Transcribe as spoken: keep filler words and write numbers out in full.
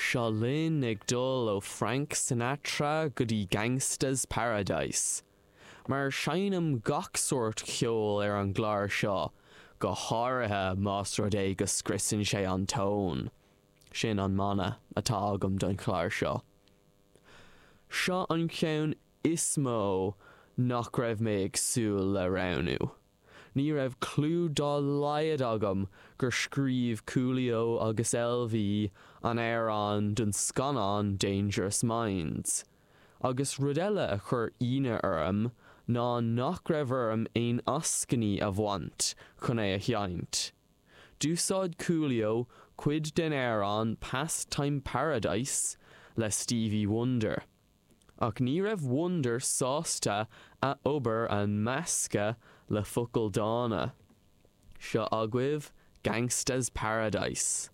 Seo linn ag dul ó Frank Sinatra go dtí Gangsta's Paradise. Mar seinnim gach sórt ceoil ar an gclár seo, go háirithe más rud é go scriosann sé an tón. Sin an mana atá agam don chlár seo. Seo an ceann is mó nach raibh mé ag súil le roghnú. Ní raibh clue dá laghad agam gur scríobh Coolio agus LV an amhrán don scannán Dangerous Minds. Agus rud eile a chuir ionadh orm ná nach raibh orm aon eascainí a bhaint chun é a sheinnt. D'úsáid Coolio cuid den amhrán Pastime Paradise le Stevie Wonder. Ach ní raibh Wonder sásta a obair a mheascadh le focail dána. Seo agaibh Gangsta's Paradise.